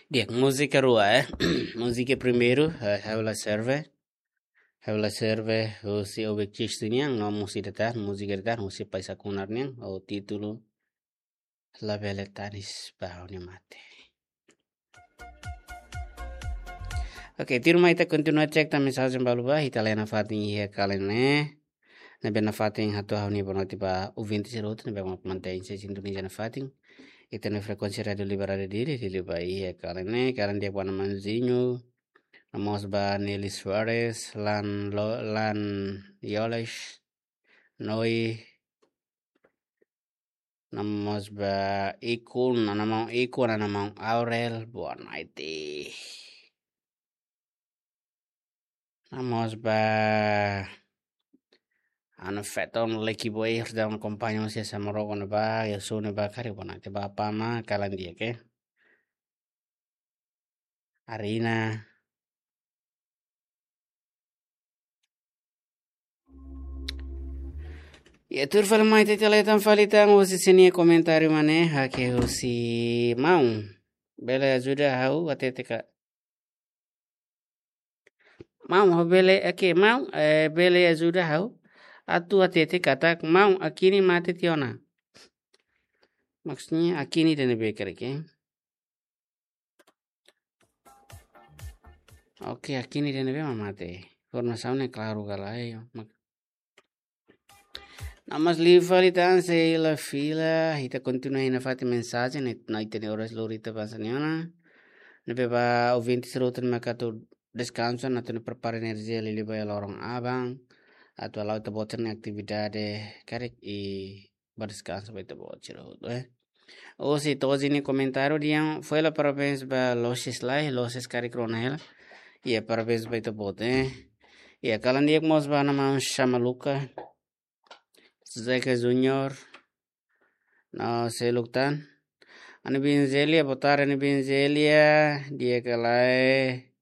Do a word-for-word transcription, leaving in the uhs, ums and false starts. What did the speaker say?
Di'ak, múzika rua, eh. Múzika primeiru, eh, ha'u la serve. Ha'u la serve husi Obek Cis nian, no múzika ida tan, múzika ida tan husi Paisa Kunar nian, ho títulu Labele Tanis ba Ha'u-nia Mate. Oke, tuirmai ita kontinua cek tan mensajen balu ba, ita la'o iha fatin iha kalan ne'e. Ne'ebé nafatin hato'o ha'u-nia boa noite ba ouvinte sira hotu ne'ebé mak mantein sintoniza nafatin ita-nia frekuénsia Rádiu Liberal Dili, Dili ba iha kalan ne'e, kalan di'ak ba Ana Manzinho, no mós ba Nelly Soares, Lan Lo-, Lan Yoles, Noi, no mós ba Ikun, Ana Maun Ikun, Ana Maun Aurel, boa noite. No mós ba Ana Feton Leki Boy, Ridwan Kompanyo, Sia Samorogo ne'ebá, Yasu ne'ebá, karik boa noite ba Pama, kalan di'ak, eh. Arina. Ya, tuir fali mai ita la'o tan fali tan husi sira-nia komentáriu mak ne'e, hak'e husi maun. Bele ajuda ha'u hatete ka. Maun, ha'u bele, oke, maun, eh, bele ajuda ha'u atu hatete katak maun Akini mate tiha ona. Maksudnya Akini ida ne'ebé karik, eh. Oke, Akini ida ne'ebé mak mate. Informasaun ne'e klaru ka lae, yo. Mak-, no mós liu fali tan sei la fila, ita kontinua iha nafatin mensajen, no ita-nia oras lori ita pasa ne'e ona. Ne'ebé ba ouvinte sira hotu ne'ebé mak atu deskansa, no atu prepara enerjia liuliu ba iha loron aban. Atu hala'o ita-boot sira-nia atividade karik i ba deskansa ba ita-boot sira hotu, eh. Husi Tozi nia komentáriu dehan, fó hela parabéns ba Loses lai, Loses karik rona hela. Ya, parabéns ba ita-boot, eh. Ya, kalan di'ak mós ba Ana Maun Shamaluka, Zeca Junior, no seluk tan. Ana Biin Zelia, boa tarde, Ana Biin Zelia, di'ak ka lae.